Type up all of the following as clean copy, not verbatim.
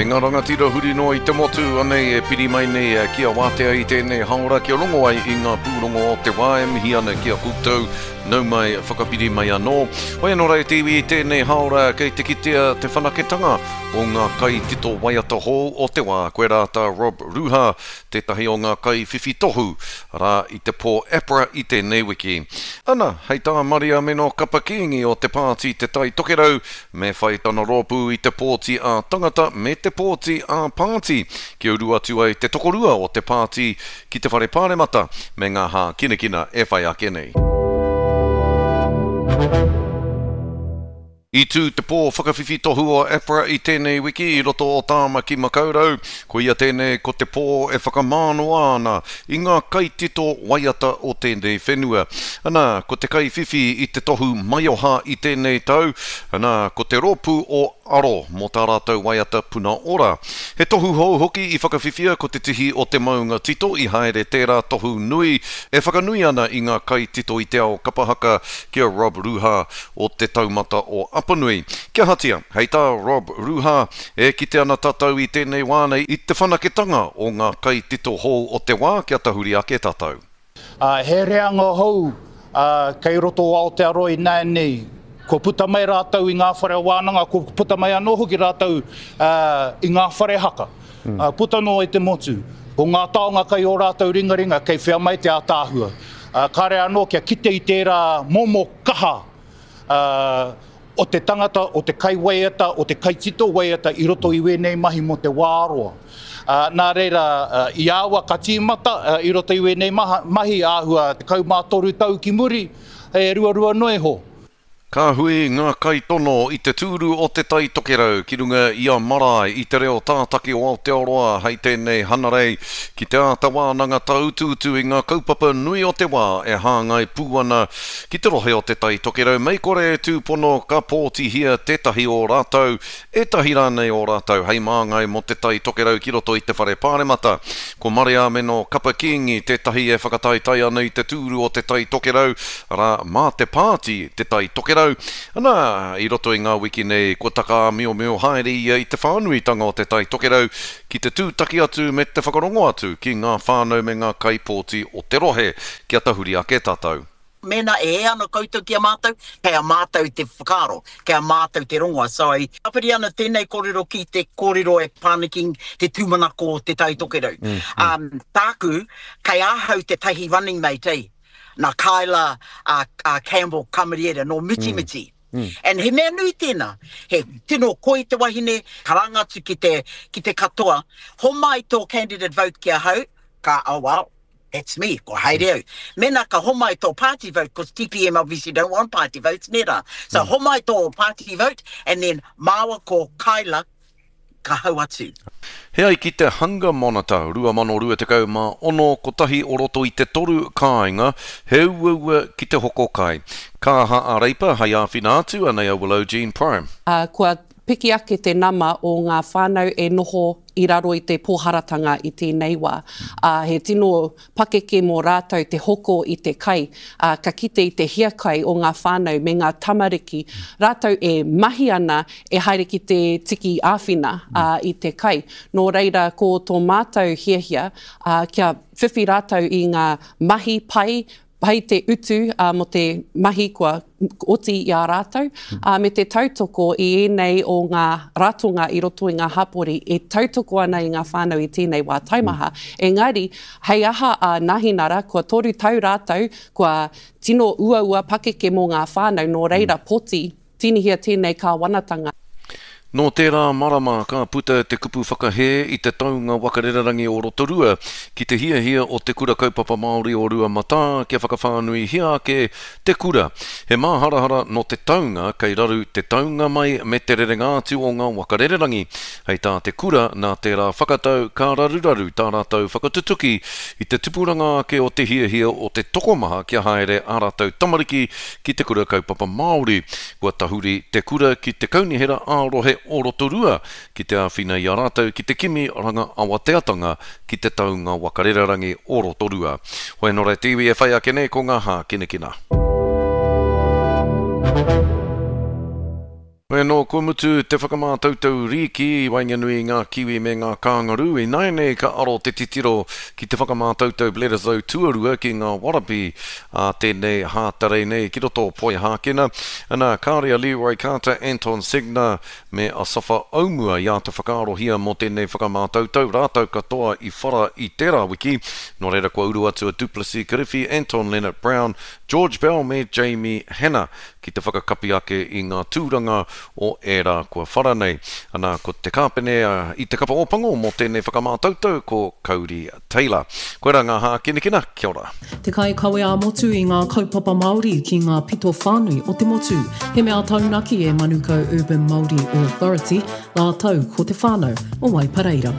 E ngā rangatira huri noa i te motu, anei e piri mai nei ki a Wātea i tēnei haora kia rongo ai i ngā pūrongo o te wā e mihi ana ki a koutou, nau mai, whakapiri mai anō. Hoi anō rā e te iwi i tēnei haora kei te kitea te whanaketanga o ngā kaitito waiata hou o te wā, koirā tā Rob Ruha, tētahi o ngā kaiwhiwhi tohu, arā, i te pō APRA i tēnei wiki. Ana, hei tā Mariameno Kapa Kīngi o te pāti Te Tai Tokerau, Me whai tana rōpū i te pōti ā-tangata me te pōti ā-pāti kia uru atu ai te tokorua o te pāti ki te Whare Pāremata me ngā hākinakina e whai ake nei. I tū te pō whakawhiwhi tohu o APRA i tēnei wiki i roto o Tāmaki Makaurau. Koia tēnei ko te pō e whakamānoa ana i ngā kaitito waiata o tēnei whenua. Ana, ko te kaiwhiwhi i te tohu maioha i tēnei tau, ana, ko te rōpū o Aro mō tā rātou waiata Puna Ora. He tohu hou hoki i whakawhiwhia ko te tihi o te maunga tito i haere tērā tohu nui e whakanui ana i ngā kaitito i te ao kapa haka ki a Rob Ruha o Te Taumata o Apanui. Kia ahatia, hei tā Rob Ruha, E kite ana tatou i tenei wā nei i te whanaketanga o ngā kaitito hou o te wā kia tahuri ake tatou. Ā, he reanga hou kei roto o Aotearoa ināianei, kua puta mai rātou i ngā whare wānanga, kua puta mai anō hoki rātou i ngā whare haka, puta noa i te motu. Ko ngā taonga kei ō rātou ringaringa, kei whea mai te ātaahua. Kāre anō kia kite i tērā momo kaha o te tangata, o te kaiwaiata, o te kaitito waiata i roto i wēnei mahi mō te wā roa. Nā reira, i aua ka tīmata i roto i wēnei mahi āhua 13 tau ki muri, he ruarua noa iho. Ka hui ngā kaitono i te tūru o Te Tai Tokerau ki runga i a Marae i te reo tātaki o Aotearoa hei tēnei Hanarei ki te āta wānanga tāutuutu i ngā kaupapa nui o te wā e hāngai pū ana Ki te rohe o Te Tai Tokerau mei kore e tūpono ka pōtihia tētahi o rātou, ētahi rānei o rātou hei māngai mō Te Tai Tokerau ki roto i te Whare Pāremata. Ko Mareameno Kapa Kīngi tētahi e whakataetae ana i te tūru o Te Tai Tokerau, arā, mā te pāti Te Tai Tokerau. Anā, i roto i ngā wiki nei kua takaāmiomio haere ia i te whānuitanga o Te Tai Tokerau ki te tūtaki atu me te whakarongo atu ki ngā whānau me ngā kaipōti o te rohe kia tahuri ake tātou. Mēnā e hē ana koutou ki a mātou, kei a mātou te whakaaro, kei a mātou te rongoa. So, e tāpiri ana tēnei kōrero ki te kōrero e pā ana ki te tūmanako o Te Tai Tokerau. Um, tāku, kei ahau tētahi running mate, eh, nā Kyla uh, uh, Campbell Kamariera, nō Mitimiti. Mm. And he mea nui tēnā, he tino koi te wahine, karanga atu ki te, ki te katoa, homai tō candidate vote ki ahau, ka, oh well, That's me, ko haere au. Mena ka homai tō party vote, cause TPM obviously don't want party votes, nē rā. So mm. homai tō party vote, and then māua ko Kyla ka hau atu. He ai ki te Hunger Monitor 2026, kotahi o roto i te toru kāinga, he uaua ki te hoko kai. Ka aha a Reipa hei āwhina atu, anei a Willow Jean Prime. Kua piki ake te nama o ngā whānau e noho i raro i te pōharatanga i tēnei wā, ā, he tino pakeke mō rātou te hoko i te kai, ā, ka kite i te hiakai o ngā whānau me ngā tamariki, rātou e mahi ana e haere ki te tiki āwhina, ā, i te kai. Nō reira, ko tō mātou hiahia, ā, kia whiwhi rātou i ngā mahi pai, Pai te utu mō te mahi kua oti i a rātou, ā, me te tautoko i ēnei o ngā ratonga i roto i ngā hapori e tautoko ana i ngā whānau i tēnei wā taimaha. Engari, hei aha a Nahinara, kua toru tau rātou, kua tino uaua pakeke mō ngā whānau, nō reira poti Tīnihia tēnei kāwanatanga. Nō tērā marama ka puta te kupu whakahē i te taunga waka rererangi o Rotorua ki te hiahia o Te Kura Kaupapa Māori o Ruamatā kia whakawhānuihia ake te kura. He māharahara nō te taunga kei raru te taunga mai me te rerenga atu o ngā waka rererangi. Hei tā te kura nā tērā whakatau ka raruraru tā rātou whakatutuki i te tupuranga ake o te hiahia o te tokomaha kia haere ā rātou tamariki ki te Kura Kaupapa Māori. Kua tahuri te kura ki te Kaunihera ā-Rohe o Rotorua ki te āwhina i a rātou ki te kimi ranga awateatanga ki te taunga waka rererangi o Rotorua. Hoi anō rā te iwi e whai ake nei ko ngā hākinakina. Hoi anō, kua mutu te whakamātautau rīki i waenganui i ngā Kiwi me ngā Kāngarū, ināianei ka aro te titiro ki te whakamātautau Bledisloe tuarua ki ngā Warabi ā tēnei Hātarei nei ki roto o Poihākena. Ana, kāore a Leroy Carter, Anton Segner me Asafa Aumua i āta whakaarohia mō tēnei whakamātautau, rātou katoa i whara i tērā wiki, nō reira kua uru atu a Duplessis Kirifi, Anton Lienert-Brown, George Bell me Jamie Hannah ki te whakakapi ake i ngā tūranga o ērā kua whara nei. Ana, ko te kāpene i te kapa Ōpango mō tēnei whakamātautau ko Kauri Taylor. Koirā ngā hākinakina, kia ora. Te kaikawe ā-motu i ngā kaupapa Māori ki ngā pito whānui o te motu. He mea taunaki e Manukau Urban Māori Authority rātou ko te whānau o Waipareira.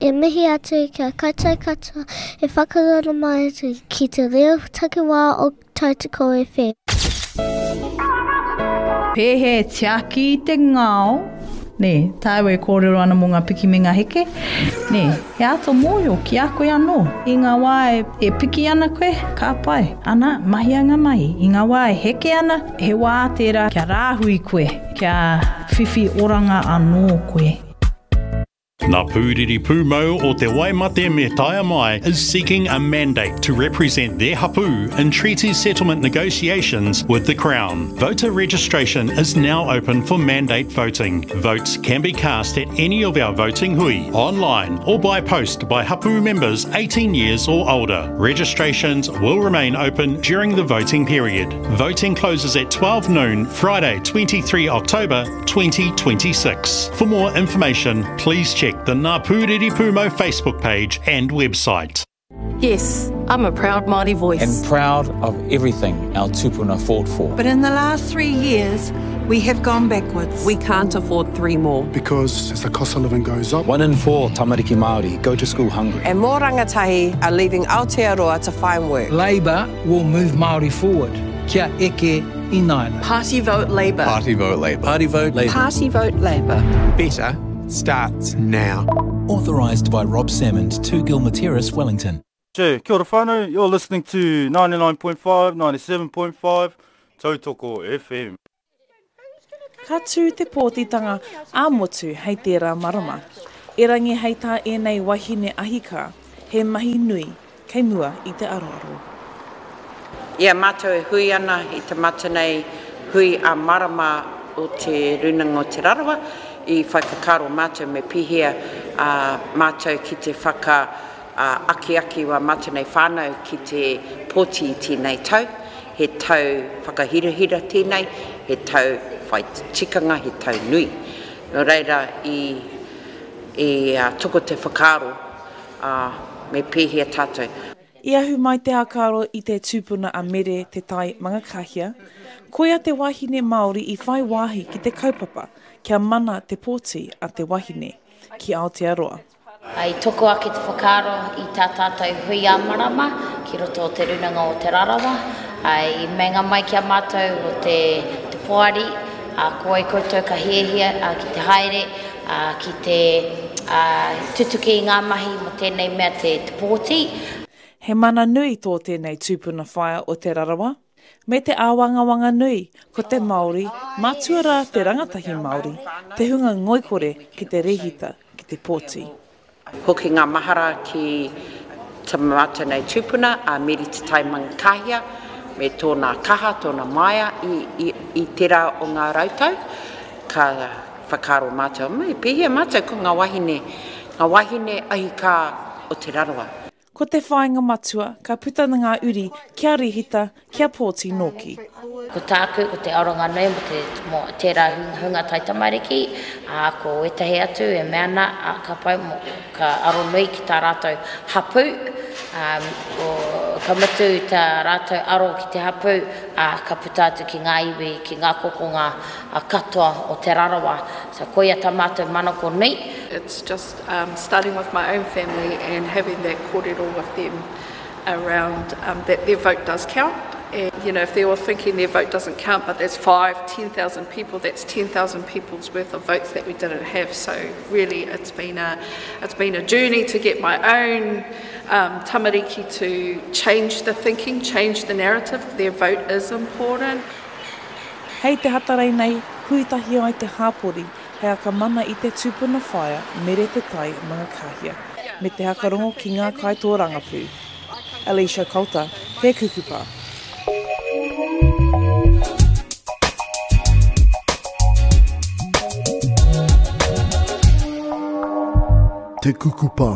E mihi atu ki a koutou katoa e whakarara mai ana ki te reo takiwā o Tautoko FM. Pēhea e tiaki i te ngao, nē, tāu e kōrero ana mō ngā piki me ngā heke, nē, he āta mōhio ki a koe anō. I ngā wā e piki ana koe, ka pai, ana, mahia ngā mahi. I ngā wā e heke ana, he wā tērā kia rāhui koe, kia whiwhi oranga anō koe. Ngā Pūriri Pūmau o Te Waimate me Taiamai is seeking a mandate to represent their hapū in treaty settlement negotiations with the Crown. Voter registration is now open for mandate voting. Votes can be cast at any of our voting hui, online or by post by hapū members 18 years or older. Registrations will remain open during the voting period. Voting closes at 12 noon Friday 23 October 2026. For more information, please check the Ngā Pūriri Pūmau Facebook page and website. Yes, I'm a proud Māori voice. And proud of everything our tupuna fought for. But in the last 3 years, we have gone backwards. We can't afford 3 more. Because as the cost of living goes up... 1 in 4 tamariki Māori go to school hungry. And more rangatahi are leaving Aotearoa to find work. Labour will move Māori forward. Kia eke ināianei. Party vote Labour. Party vote Labour. Party vote Labour. Party vote Labour. Better starts now. Authorised by Rob Salmond, 2 Gilmer Terrace, Wellington. Che, kia ora whānau, you're listening to 99.5, 97.5, Tautoko FM. Ka tū te pōtitanga ā-motu hei tērā marama. Erangi hei tā ēnei wahine ahikā, he mahi nui kei mua i te aroaro. I a mātou e hui ana i te mata nei hui ā-marama o Te Rūnanga o Te Rarawa, i whai whakaaro mātou me pēhea mātou ki te whaka akiaki wā mātou nei whānau ki te pōti i tēnei tau. He tau whakahirahira tēnei, he tau whai tikanga, he tau nui. Nō reira i toko te whakaaro ā, me pēhea tātou. I ahu mai te hakaaro i te tupuna a Mere Te Tai Mangakahia, koia te wahine Māori i whai wāhi ki te kaupapa kia mana te pōti a te wahine ki Aotearoa. I toko ake te whakaaro i tā tātou hui ā-marama ki roto o Te Rūnanga o Te Rarawa, i meinga mai ki a mātou o te poari, ko wai koutou ka hiahia ki te haere, ki te tutuki i ngā mahi mō tēnei mea te pōti. He mana nui tō tēnei tūpuna whaea o Te Rarawa, me te āwangawanga nui ko te Māori, mātua rā te rangatahi Māori, te hunga ngoikore ki te rēhita ki te pōti. Hoki ngā mahara ki ta mātou nei tupuna a Meri Te Tai Mangakahia me tōna kaha, tōna maia i, i, i tērā o ngā rautau. Ka whakaaro mātou, me pēhea mātou ko ngā wahine, ngā wahine ahikā o Te Rarawa. Ko te whāinga matua, ka puta ngā uri kia rehita, kia pōti nōki. Ko tāku, ko te aronga nui mō te, mō tērā hunga taitamariki, ā, ko ētahi atu e mea ana, ā, ka pai, mō, ka aro nui ki tā rātou hapū, ā, ko, ka mutu tā rātou aro ki te hapū, ā, ka puta atu ki ngā iwi, ki ngā kokonga katoa o Te Rarawa. So koia tā mātou manako nui. It's just starting with my own family and having that kōrero with them around that their vote does count and you know if they were thinking their vote doesn't count but that's five, 10,000 people, that's 10,000 people's worth of votes that we didn't have. So really it's been a, it's been a journey to get my own um, tamariki to change the thinking, change the narrative. Their vote is important. Hei te Hatarei nei, hui tahi ai te hāpori hei akamana i te tupuna whaea Mere Te Tai Mangakāhia me te hakarongo ki ngā kaitōrangapū. Alicia Coulter, Te Kukupa. Te Kukupa,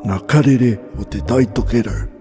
ngā karere o Te Tai Tokerau.